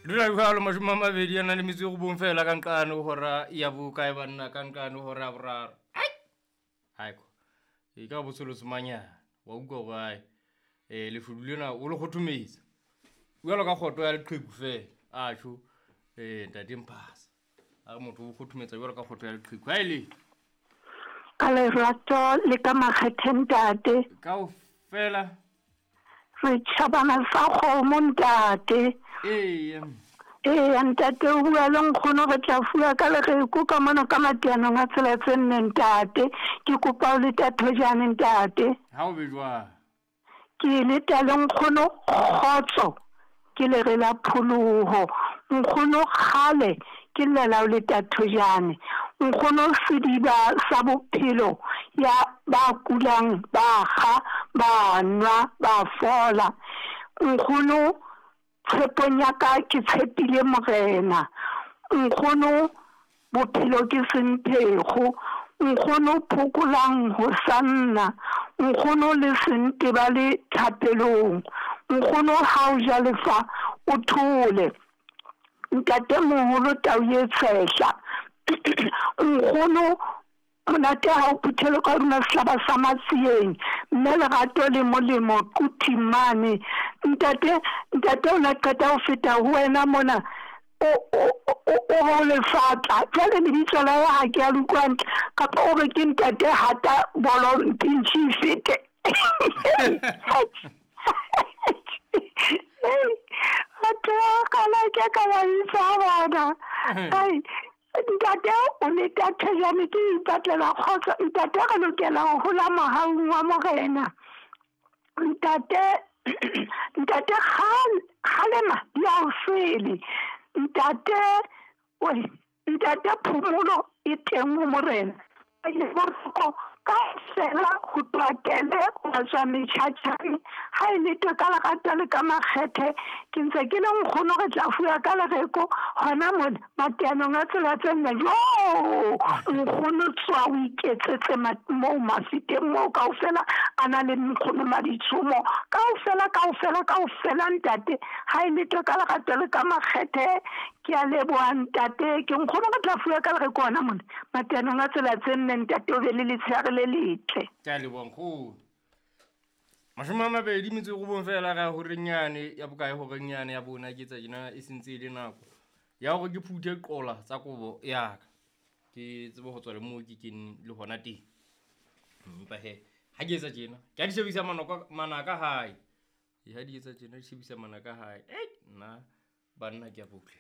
Dula jwalo 29 fela ka nqane hora ya bokae banna ka nqane hora ya boraro. Haiko. E ka botshelo semanyana wa utlwa hore ai leshodu lena o le kgothometsa. Jwalo ka kgoto ya leqheku fela. A tjho ntate Mphasa. A re motho o kgothometsa jwalo ka kgoto ya leqheku. Ha ile. Ka lerato le ka makgethe ntate. Kaofela. Re tjhabana sa kgomo ntate. Ee. Ee, ntate o bua le nkgono re tla fuwa ka lereko ka mona ka mateanong a tsela tse nne ntate. Ke kopa o le tathojane ntate. Ha o be jwang? Ke leta le nkgono kgotso ke lere la pholoho. Nkgono kgale ke llela o le tathojane. Nkgono sediba sa bophelo ya ba kulang ba kga ba nwa ba fola. Nkgono tshepong ya ka ke tshepile morena. Nkgono bophelo ke semphego. Nkgono phokolang ho sanna. Nkgono le sente ba le thapelong. Nkgono ha o ja lefa o thole. Ntate moholo tau ye tshehla. Nkgono monate ha o phuthele ka hodima sehlaba sa matsieng. Mme lerato le molemo quthing mane. Ntate ntate o na qeta ho feta ho wena mona. O lefatla jwale lebitso la hae ha ke a le utlwa hantle kapa o re ke ntate hata bolo mpintshi fete. Batho ba kgale ke ka ba bitsa bona. Ai ntate o le tathejane ke ipatlela kgotso. Ntate re lokela ho hola mohaung wa morena. Ntate ntate kgalema di a o sele. Ntate oi ntate phomolo e teng ho morena. Le boroko kaofela ho tloha kele ho tswa metjhatjhane. Ha e le ka lerato le ka makgethe ke ntse ke le nkgono re tla fuwa ka lereko hona mona mateanong a tsela tse nne. Jo nkgono tswa o iketsetse moo mafiteng moo kaofela a na le nkgono maditshomo kaofela kaofela kaofela ntate. Ha e le ka lerato le ka makgethe ke a leboha ntate. Ke nkgono re tla fuwa ka lereko hona mona mateanong a tsela tse nne. Ntate o be le letshehare le letle. Ke a leboha nkgono. 29 fela ga horenyane ya bokae horenyane ya bona ke tsa jena e sentse e le nako ya hore ke phuthe qola tsa kobo ya ka. Ke tsebe ho tswa le moo ke kene le hona teng. Empa he ha ke etsa tjena ke a di shebisa manaka hae. Ha di etsa tjena di shebisa manaka hae. Nna banna ke a botle.